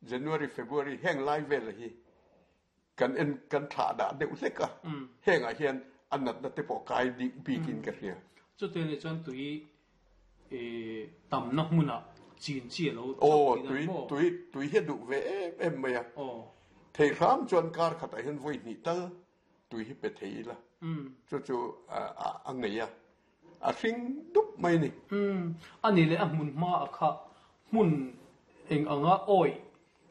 January, February heng lai vel hi kan en kan thlah dah deuh hlek a, hengah hian a natna te pawh kai dik bikin ka hria. Chutiang nih chuan tui tamna hmunah chin chi a lo chauh tih dan maw? Tui tui hi a duh ve em em mai a, thei hram chuan kar khatah hian vawi hnih tal tui hi pe thei ila chu chu a ngei a, a hring dup mai a ni. A nih leh a hmun hma a kha hmun eng anga awih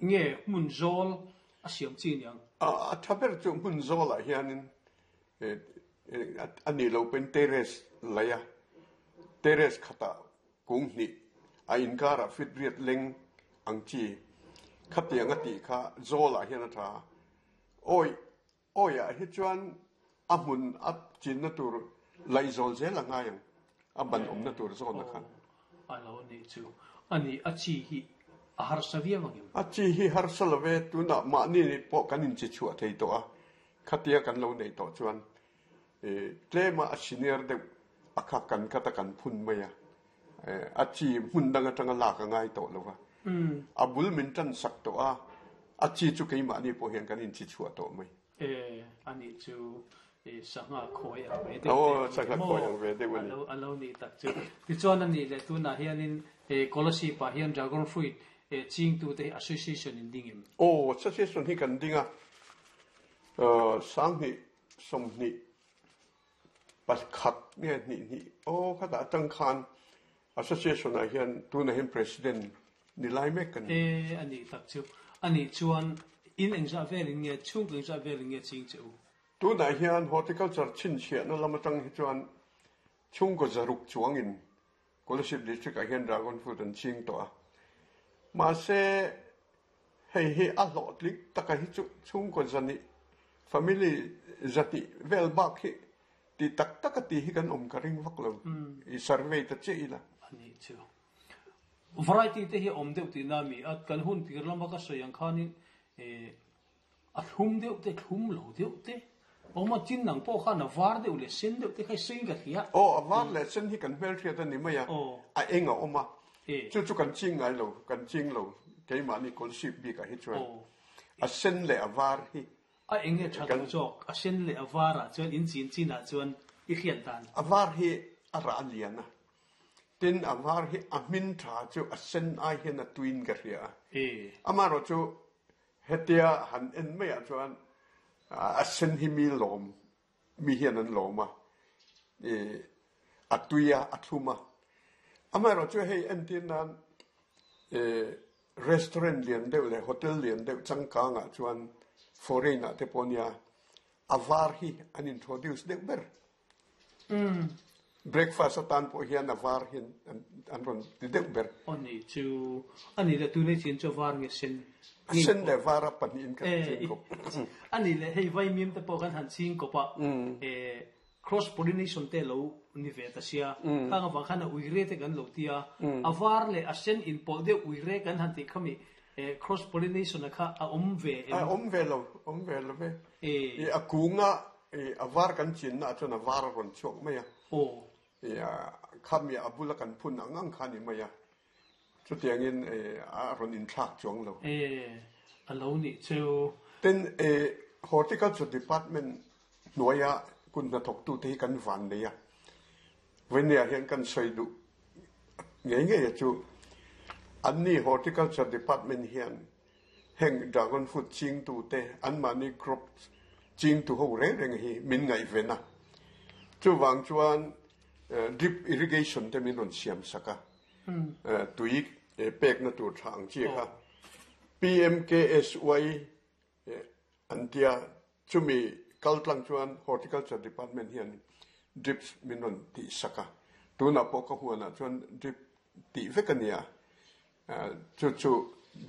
nge hmun zawl a siam chi niang? A tha ber chu hmun zawlah hianin a nih loh pawhin terrace laih a, terrace khatah kung hnih a inkarah fit riat leng ang chi khatiang a tih kha zawlah hian a tha a. Awi Awiah hi chuan a hmun a chinna tur laihzawl zel a ngai ang, a ban awmna tur zawna khan. A lo nih chu. A nih, a chi hi a harsa viau ang em? A chi hi harsa lo ve, tunah mahni pawh kan inchi chhuah thei tawh a, khatia kan lo neih tawh chuan tlema a senior deuh a kha kan khat a kan phun mai a, a chi hmun dang atanga lak a ngai tawh lo va, a bul min tan sak tawh a, a chi chu keimahni pawh hian kan inchi chhuah tawh mai. E, ani chu sangha khawi ang ve deuh te a ni maw? A lo a lo nih tak chu. Tichuan a nih leh tunah hianin Kolasib ah hian Dragon Fruit chingtute hi association in ding em? Aw, association hi kan ding a, 20 20 Pakhat nge hnih hnih aw khatah atang khan Association ah hian tunah hian President ni lai mek ka ni. E a nih tak chu. A nih chuan in engzah velin nge chhungkaw engzah velin nge ching che u? Tunah hian Horticulture chhinchhiahna lam atang hi chuan chhungkaw zaruk chuangin Kolasib District ah hian Dragon Fruit an ching tawh a. Mahse hei hi a hlawhtling taka hi chu chhungkaw zahnih, family zahnih vel bak hi ti tak taka ti hi kan awm ka ring vak lo. I survey ta chiah ila. A nih chu. Variety te hi a awm deuh tihna a mi a, kan hun tir lama ka sawi ang khanin A thlum deuh te, thlum lo deuh te, awm a tin ang pawh khan a var deuh leh sen deuh te kha i sawiin ka hria. Aw, a var leh sen hi kan hmelhriat a ni mai a, a eng a awm a, chu chu kan ching ngai lo, kan ching lo, keimahni kawlsip bikah hi chuan a sen leh a var hi. A eng nge tha lo zawk, a sen leh a varah chuan in chin chinah chuan i hriat dan. A var hi a rah a lian a, tin a var hi a hmin tha chu a sen ai hian a tuiin ka hria a, amaherawhchu Hetia han en maiah chuan a sen hi mi lawm, mi hian an lawm a, a tui a, a thlum a. Amaherawhchu hei entir nan restaurant lian deuh leh hotel lian deuh changkangah chuan foreign ah te pawh nia a var hi an introduce deuh ber. Breakfast atan pawh hian a var hian an rawn ti deuh ber. Aw nih chu, a nih leh tunei chin chu a var nge sen? A sen leh var a pahnihin kan ching kawp. A nih leh hei vaimim te pawh kan han ching kawp a, cross pollination te lo ni ve ta sia, khang avang khan a uire te kan lo ti a, a var leh a sen inpawlh deuh uire kan han tih kha mi Cross pollination a kha a awm ve em? A awm ve lo, awm ve lo ve. I a kunga i a var kan chinna ah chuan a var a rawn chhuak mai a. Aw. I a khami a bula kan phun ang ang kha a ni mai a. Chutiangin i a rawn inthlak chuang lo. E, a lo nih chu. Tin, i Horticulture Department hnuaia kut hnathawktute hi kan van nei a. Vawinia hian kan sawi duh ngei ngei a chu anni Horticulture Department hian heng dragon fruit chingtute anmahni crop chingtu ho reng reng hi min ngaihven a. Chuvang chuan drip irrigation te min rawn siam sak a, tui pekna tur tha ang chi kha PMKSY An tia, chumi kal tlang chuan Horticulture Department hian drips min rawn tih sak a, tunah pawh ka huanah chuan drip tih vek a nia, chu chu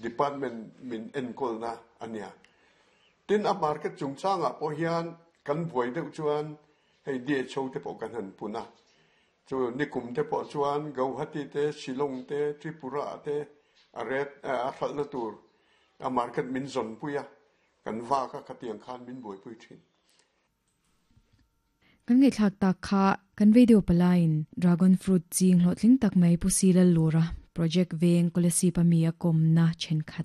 department min enkawlna a nia. Tin, a market chungchangah pawh hian kan buai deuh chuan hei DHO te pawh kan han pun a, chu nikum te pawh chuan Gauhati te, Shillong te, Tripura te a ret a hralhna tur A market min zawnpui a, kan vak a, khatiang khan min buaipui thin. Kan ngaihthlak tak kha kan radio palaiin Dragon Fruit ching hlawhtling tak mai Pu Silal Lura project veng Kolasib a mi a kawmna thenkhat.